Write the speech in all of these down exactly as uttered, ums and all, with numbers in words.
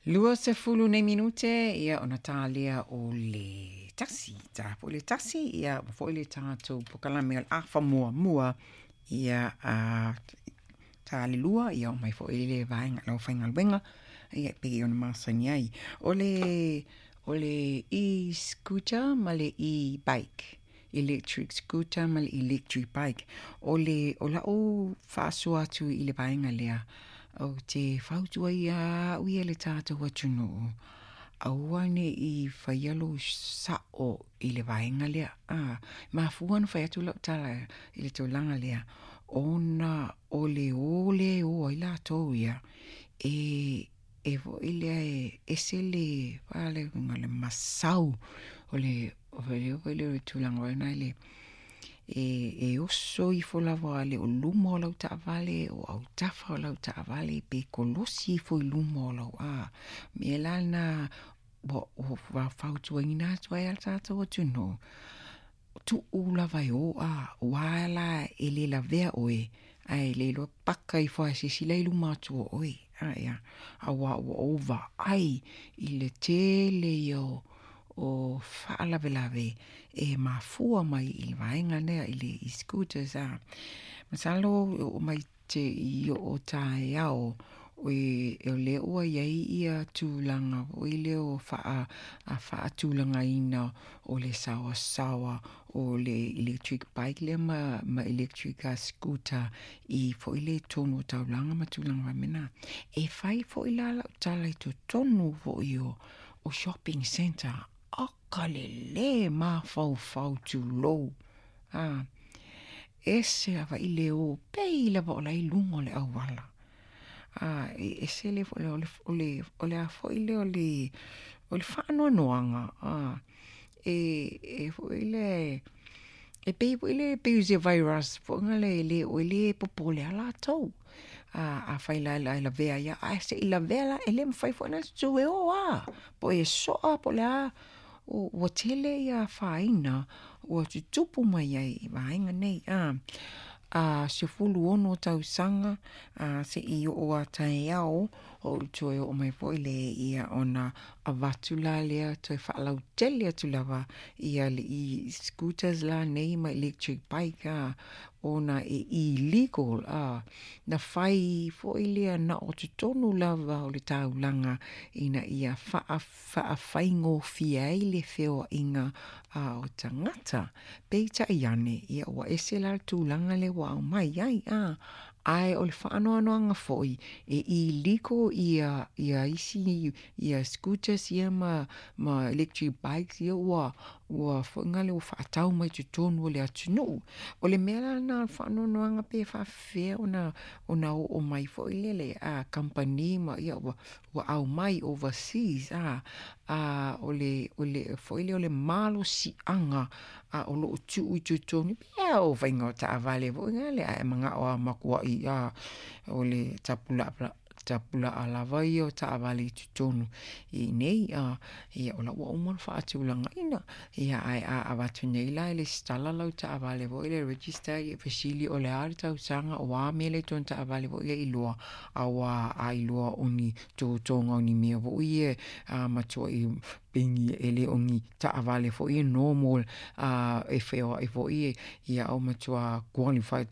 Lua sefulu nei minute ia ona talia o le tasi. Ta po le tasi ia ma foi le tatou pokalame o le afa muamua ia a ta le lua ia o mai foi le vaega lau faigaluega ia e pei ona masani ai. O le o le e-scooter ma le e-bike, electric scooter ma le electric bike. O le o lau faasoa atu i le vaega lea, ou te fautua ia au ia le tatou atunuu, aua ne i faia lou sao i le vaega lea. A mafua ona fai atu lau tala i le tulaga lea, ona o le o lea e o ai latou ia e e foi lea e ese le le le masau o le o le tulaga foi lea e e oso ifo lava le o luma o lau taavale o autafa o lau taavale pe kolosi ifo i luma o lau a mea la na ua fautuaina atu ai a tatou atunuu, tuu lava e o a ua la e le lavea oe ae le iloa paka ifo a se isi la i luma atu o oe a ia auā ua ou vaai i le tele ia o o faalavelave e mafua mai i le vaega lea i le e-scooters a. Masalo e oo mai te i oo taeao o lea ua i ai ia tulaga foi lea o faa faatulagaina o le saoasaoa o le electric bike lea ma, ma electric scooter i foi le tonu o taulaga ma tulaga faapena. E fai foi la lau tala i totonu foi o, o shopping centre aka le mafaufau tulou a ese lava i le o pei lava o la i luga o le auala a e ese le foi o le o le o le a foi le o le o le faanoanoaga a e e foi le e pei foi le pei o se virus foi le le o le popole a latou a afai la la lavea ia ae se'i lavea la e le mafai foi ona tu e o a po e soa po o le a ua tele ia afaina ua tutupu mai ai i vaega nei a a sefulu ono tausaga a se'i oo a taeao o ou toe oo mai foi le ia ona avatu la lea toe faalautele atu lava ia le e-scooters la nei ma electric bike a ona e illegal a na fai foi lea na o totonu lava o le taulaga ina ia faa faafaigofie ai le feoaiga a o tagata. Peitai ane ia ua ese la le tulaga lea ua aumai ai a ae o le faanoanoaga foi e illegal ia ia isi ia scooters ia ma ma electric bikes ia ua ua foi le ua faatau mai totonu o le atunuu. O le mea la lena o le faanoanoaga pe faafefea ona ona oo mai foi lele a kamupani ma ia ua ua aumai overseas a a o le o le foi lea o le malosiaga a o loo tuu i totonu pei o faiga o taavale foi lea ae manao a matuai a o le tapulaa tapulaa lava ia o taavale i totonu i nei a ia o la ua uma ona faatulagaina ia ae a avatu nei la e lesitala lau taavale foi le register ia fesili o le a le tausaga o a mea le tonu taavale foi ia iloa auā a iloa o ni totoga o ni mea foi ia a matuai pengi e le o ni taavale foi e normal a e feoai foi ia au matua qualified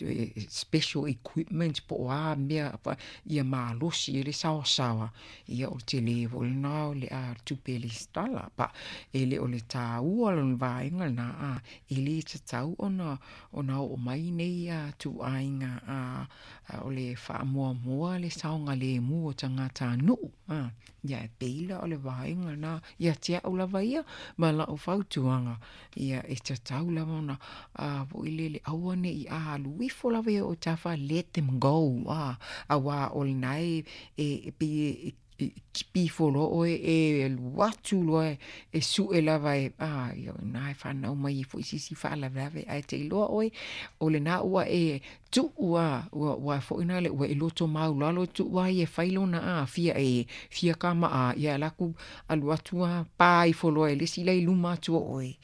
special equipment po o a mea ia malosi e le saoasaoa ia o tele foi lena o le a tupe lesitala pa e le o le tāua lona vaega lena a e le tatau ona ona oo mai nei a ituaiga a o le faamuamua le saogalemu o tagatanuu a ia e pei la o le vaega lena ia te au lava ia ma lau fautuaga ia e tatau lava ona a foi lele aua nei alu ifo lava ia o tafa, let them go a auā o lena e e pei e kipi ifo loa oe e alu atu loa e sue lava e a ia na e fanau mai ai foi se isi faalavelave ae te iloa oe o lena ua e tuu a ua ua foi na le ua e loto maulalo tuu ai e fai lona a fia e fia kama a ia alu atu alu atu a pa ifo loa e le isi la i luma atu o oe.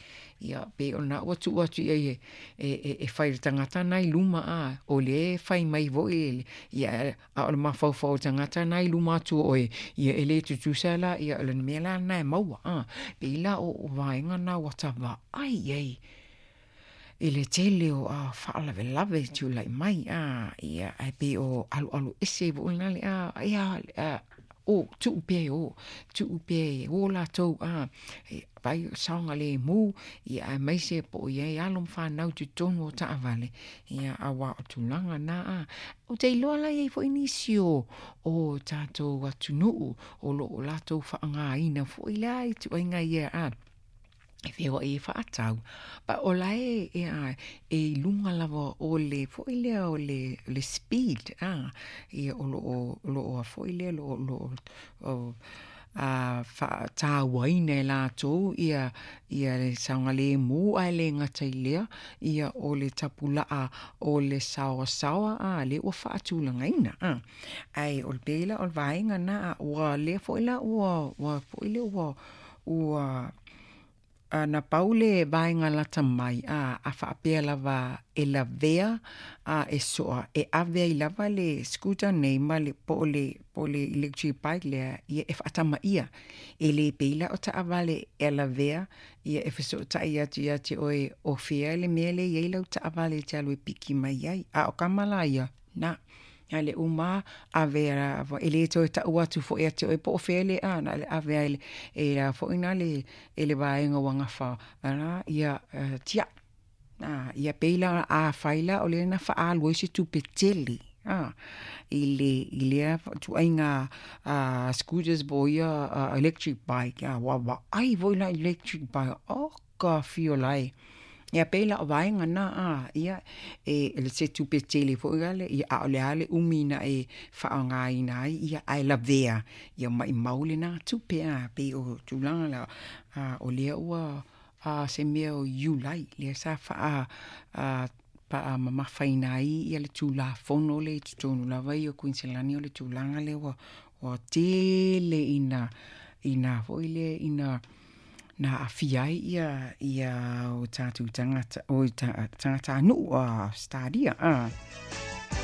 Ia pe o na ua tuu atu i ai e, e, e, e fai le tagata na i luma a o le fai mai foi ia a o le mafaufau o le tagata na i luma atu o oe ia e le tutusa la ia o le mea la lena e maua a pei la o, o vaega na ua ta vaai i ai i le tele o a faalavelave e tulai mai a ia ae pei o alualu ese foi lena le a ia a, o tuu pea e o tuu pea e o latou a e vai o saogalemu ia aemaise po o i ai alo ma fanau i totonu o taavale ia auā o tulaga na a ou te iloa la e i ai foi nisi o o tatou atunuu o loo latou faaaogaina foi la ituaiga ia a e feoai e faatau pa o la e e a e i luga lava o le foi lea o le le speed a ia o loo o loo a foi lea o loo o a faatauaina e latou ia ia le saogalemu ae le gata i lea ia o le tapulaa o le saoasaoa a lea ua faatulagaina a ae o le pei la o le vaega na ua lea foi la ua ua foi lea ua ua na pau le vaega lata mai a a faapea lava e lavea a e soa e ave ai lava le scooter nei ma le po o le po o le electric bike lea ia e faatamaia. E le pei la o taavale e lavea ia e fesootai atu ia te oe o fea le mea lea e i ai lau taavale e te alu e piki mai ai. A o kama la ia, na a le uma ave e le toe tau atu foi ia te oe po o fea le a na le ave ai e la foi na le e le vaega ua gafa ana ia uh, tiai a ia pei la a fai la o le na faaalu ai se tupe tele a i le i lea ituaiga uh, scooters po o ia uh, electric bike a ua vaai foi la electric bike o ka fiola e ia pei la o vaega na a ia e le se tupe tele foi ale ia a o le a le umi na e faaaogaina ai ia ae lavea ia maimau lena tupe a pei o tulaga la a o lea ua a se mea o Iulai lea sa faa a faamamafaina ai ia le tulafono le i totonu lava ia o Kuiniselani o le tulaga lea ua ua tele ina ina foi lea ina na aafia ai ia ia o tatou tagata o ta, tagatanuu a Australia a.